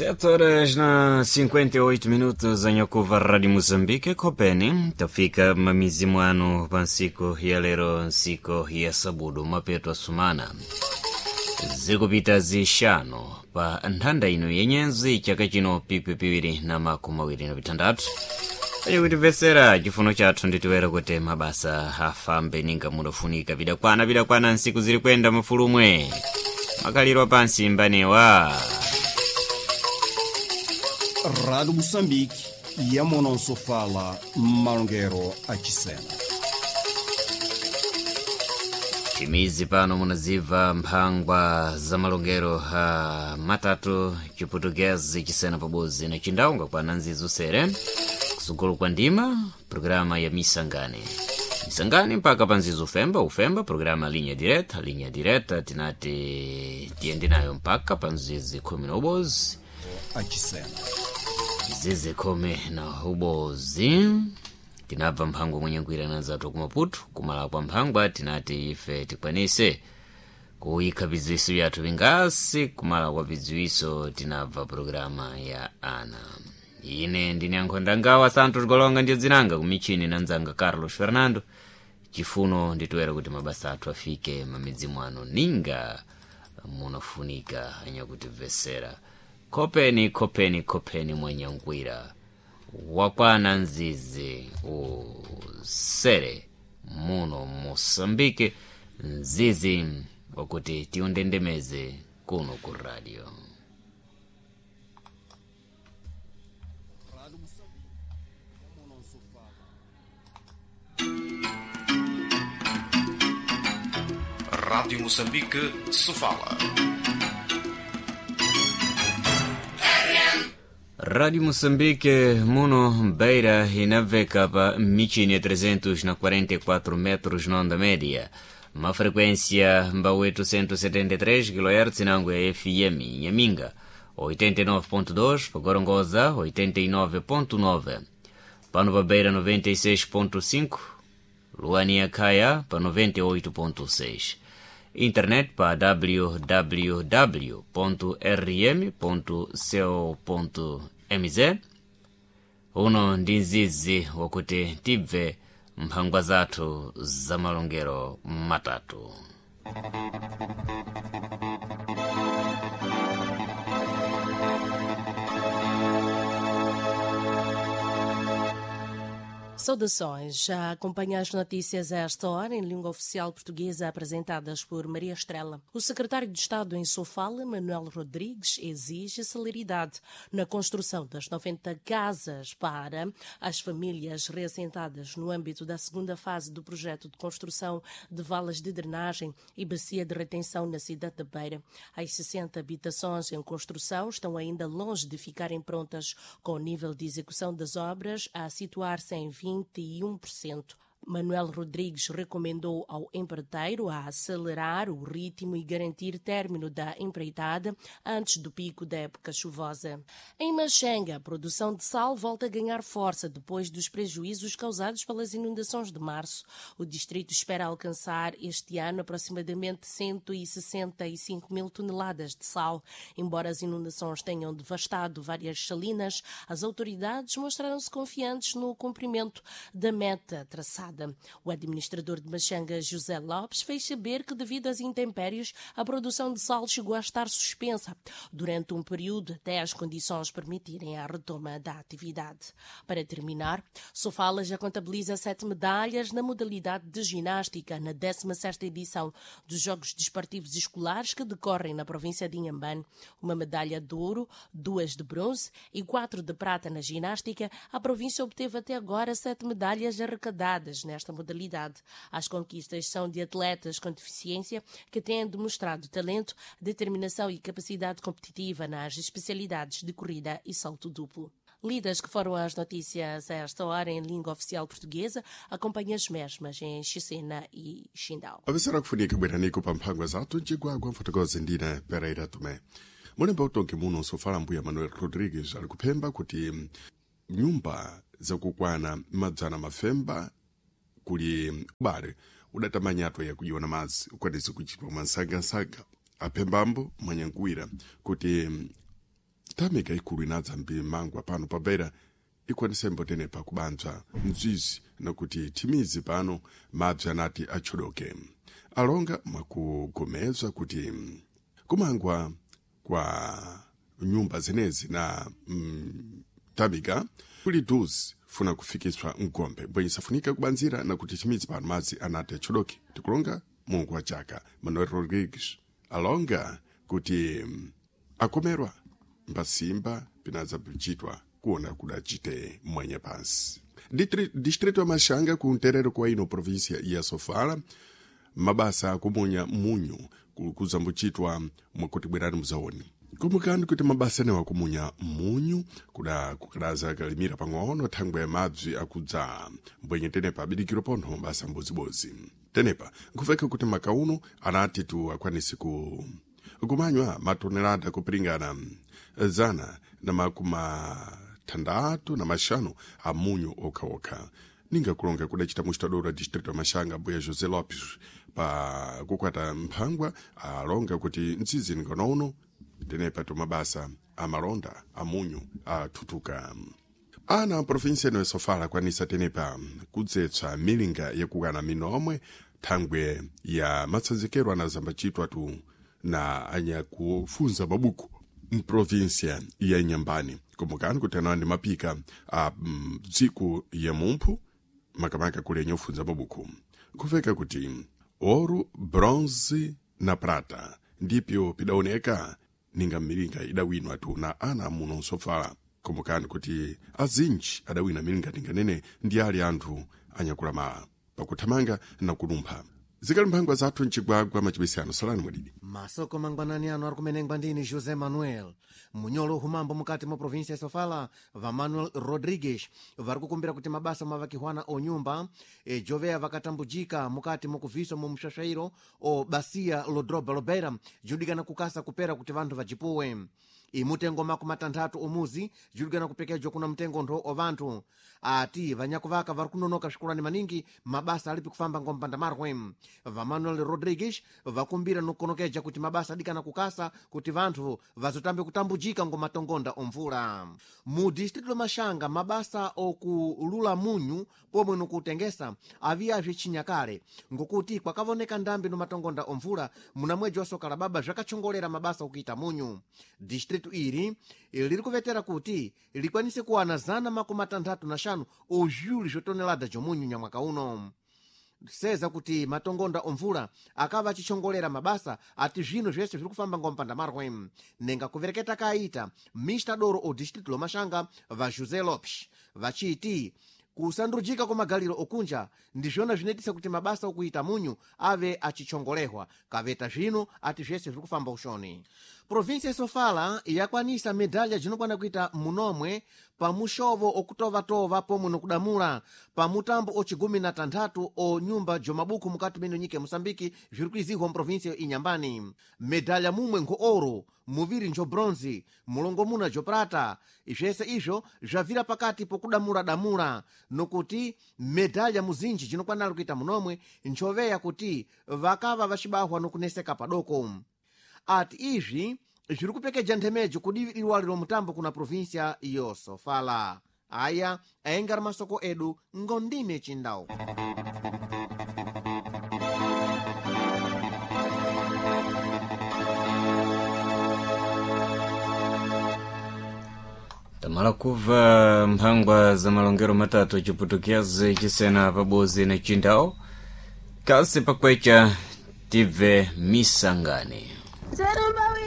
7 horas na 58 minutos em Ocuva Rádio Moçambique, Copeni, tafika mamizimu ano pa ntsiku ya lero, ntsiku ya sabudu, mapeto asumana zikupita zixanu pa nthanda ino yenyenzi chaka chino pipi 2026. Achikutimvetsera chifuno chathu nditiwera kuti mabasa afambe ninga mudafunika pidakwana pidakwana ntsiku zili kwenda mafulumwe makaliro pansi mbanewa. Rádio Moçambique, Yamononsofala, Malongero Achisena. Timizi pano munazibva mphangwa za malongero ha matatu, Chiputukezi, Chisena pabodzi na Chindau kwa nzizo sere kusukulu kwa ndima programa ya Misangane Misangane mpaka panzizo ufemba ufemba programa linha direta linha direta tinati tiyende nayo mpaka panzizi 11. Achisena. Zizi 11 tinabva mphangwa mwenyangwira nanzathu kumaputu kumala kwa mphangwa tinati ife tikwanise kuyikha bidziwiso byathu bingasi kumala kwa bidziwiso tinabva programa ya ana. Ine ndine ankhonda ngawa Santos Golonga ndiyo dzinanga kumichini nanzanga Carlos Fernando. Chifuno nditoera kuti mabasa athu afike mamidzi mwano ninga munafunika anyakutimvesera. Kopeni kopeni kopeni mwenyangwira wakwana nzizi usere muno Moçambique, nzizi wakuti tiundendemeze kuno ku radio. Rádio Moçambique, Sofala. Rádio Moçambique muno Beira inabveka pa michini ya 344 metros na onda média, ma frequência mba 873 kHz nango ya FM Nhaminga 89.2, pa Gorongosa 89.9, pano pa Beira 96.5, Luania Kaya pa 98.6, internet pa www.rm.co.mz. Uno ndi mzizi wakuti tibve mphangwa zathu za malongero matatu. Saudações. Já acompanha as notícias a esta hora em língua oficial portuguesa apresentadas por Maria Estrela. O secretário de Estado em Sofala, Manuel Rodrigues, exige celeridade na construção das 90 casas para as famílias reassentadas no âmbito da segunda fase do projeto de construção de valas de drenagem e bacia de retenção na cidade da Beira. As 60 habitações em construção estão ainda longe de ficarem prontas, com o nível de execução das obras a situar-se em 21%. Manuel Rodrigues recomendou ao empreiteiro a acelerar o ritmo e garantir término da empreitada antes do pico da época chuvosa. Em Machenga, a produção de sal volta a ganhar força depois dos prejuízos causados pelas inundações de março. O distrito espera alcançar este ano aproximadamente 165 mil toneladas de sal. Embora as inundações tenham devastado várias salinas, as autoridades mostraram-se confiantes no cumprimento da meta traçada. O administrador de Machanga, José Lopes, fez saber que, devido às intempéries, a produção de sal chegou a estar suspensa durante um período até as condições permitirem a retoma da atividade. Para terminar, Sofala já contabiliza 7 medalhas na modalidade de ginástica na 17ª edição dos Jogos Desportivos Escolares que decorrem na província de Inhambane. Uma medalha de ouro, 2 de bronze e 4 de prata na ginástica. A província obteve até agora 7 medalhas arrecadadas nesta modalidade. As conquistas são de atletas com deficiência que têm demonstrado talento, determinação e capacidade competitiva nas especialidades de corrida e salto duplo. Lidas que foram as notícias a esta hora em língua oficial portuguesa, acompanhe as mesmas em Xicena e Xindau. Avisera kufunika bweraniko pa mphangwa zathu mcigwagwa mfotokozi ndine Pereira Tomé. Mulemba utongi muno Sofala mbuya Manuel Rodrigues ali kuphemba kuti nyumba zakukwana madzana mafemba kuli ubale udatamanyatwa yakujiwa na madzi ukwanise kuchitwa mwansangansanga aphembambo mwanyankuwira kuti. Tamika ikulu inadza mbimangwa pano pabeira ikwanisembo tenepa kubanza mzizi nakuti thimizi pano mabzi anati atchodoke. Alonga mwakugomezwa kuti kumangwa kwa nyumba zenezi na tamika kuli duzi funa kufikiswa mgombe bwenye kubanzira nakuti chimidzi pano madzi anati atchodoke. Tikulonga Mulungu wa chaka. Manuel Rodrigues alonga kuti akomerwa mbasimba pinadza kuchitwa kuona kudachite mwenye pansi. Distrito ya Machanga ku nterero kwa ino província ya Sofala mabasa akumunya munyu kuzambuchitwa mwakuti bwerani muzaoni. Kumbukani kuti mabasa anewa akumunya munyu kuda kukadaza kalimira pang'ono thangwe mabzi akudzala mbwenye tenepa abidikiro pontho mabasa mbozibozi. Tenepa nkufeka kuti makauno anati tu akwanisi ku kumanywa matonelada kupiringana 165 a munyu okhaokha. Ninga kulonga kudachita mustadora distrito ya Machanga mbuya José Lopes pa kukwata mphangwa alonga kuti mtsizi ninganouno tenepa tumabasa amalonda amunyu athutuka. Ana a província ino ya Sofala akwanisa tenepa kudzetsa milinga yakukana minomwe thangwe ya matsanzikero anazambachitwa tu na anyakufunza mabuku mprovíncia ya Inhambane. Kumbukani kuti anawa ndi mapika a dziko ya mumphu makamaka kuli anyakufunza mabuku. Nkufeka kuti ouro, bronze na prata ndipyo pidaoneka ninga milinga idawinwa tu na ana muno Nsofala. Kumbukani kuti azinji adawina milinga tinganene ndi ali anthu anyakulamala pakuthamanga na kulumpha. Zikali mphangwa zathu mchigwagwa machibesi ano salani mwadidi. Masoko mangwanani ano ari kumenengwa ndini José Manuel. Munyolo humambo mukati mwa província ya Sofala va Manuel Rodrigues vari kukumbira kuti mabasa mavakihwana o nyumba joveya vakatambujika mukati mukubviswa mu mxaxairo o basia lodroba lobeira judikana kukasa kupera kuti vanthu vajipuwe. Imutengo 60 omuzi judikana kupekejwa kuna mtengo ntho o vanthu. Ati vanyakuvaka vari kunonoka swikulani maningi mabasa alipi kufamba ngompanda marwe. Va Manuel Rodrigues vakumbira nokukonokeja kuti mabasa adikana kukasa kuti vanthu vazotambe kutambujika ngomatongonda omvula. Mu distrito la Machanga mabasa okulula munyu pomwe nokutengesa aviyazve chinyakale ngokuti kwakavoneka ndambi no matongonda omvula muna mwedzi wa soka la baba zvakachongolera mabasa okuita munyu. Distrito iri liri kuvetera kuti likwanise kuwana 165 ozviuli zvotonelada zvomunyu nyamwaka uno. Seza kuti matongonda omvula akava achichongolera mabasa ati zvino zvese zviri kufamba ngompanda marwe. Nenga kuvereketa kaita mista doro o distrito lomashanga va José Lopes vachiti kusandujika kwa magaliro okunja ndizvona zvinoitisa kuti mabasa okuita munyu ave achichongolehwa kaveta zvino ati zvese zviri kufamba ushoni. Província ya Sofala yakwanisa medalha jinokwana kuita munomwe pamuxovo okutovatova pomwe nokudamula pamutambo ocigumi na tanthatu o nyumba jomabuku mukati meno nyika ya Moçambique zviri kuizihwa muprovíncia Inhambane. Medalha mumwe nkho ouro, muviri njo bronze, mulongomuna jo prata. Zvese izvo zvavira pakati pokudamula-damula nokuti medalha muzinji jinokwanala kuita munomwe nchoveya kuti vakava vacibahwa nokuneseka padoko. Ati izvi zviri kupekeja nthemejo kudivi liwali mutambo kuna província yosofala. Aya aengari masoko edu ngondime chindau. Tamala kuva mphangwa za malongero matatu chiputukiazi chisena pabozi na chindau kasi pakwecha tibve misangani. Zerumba.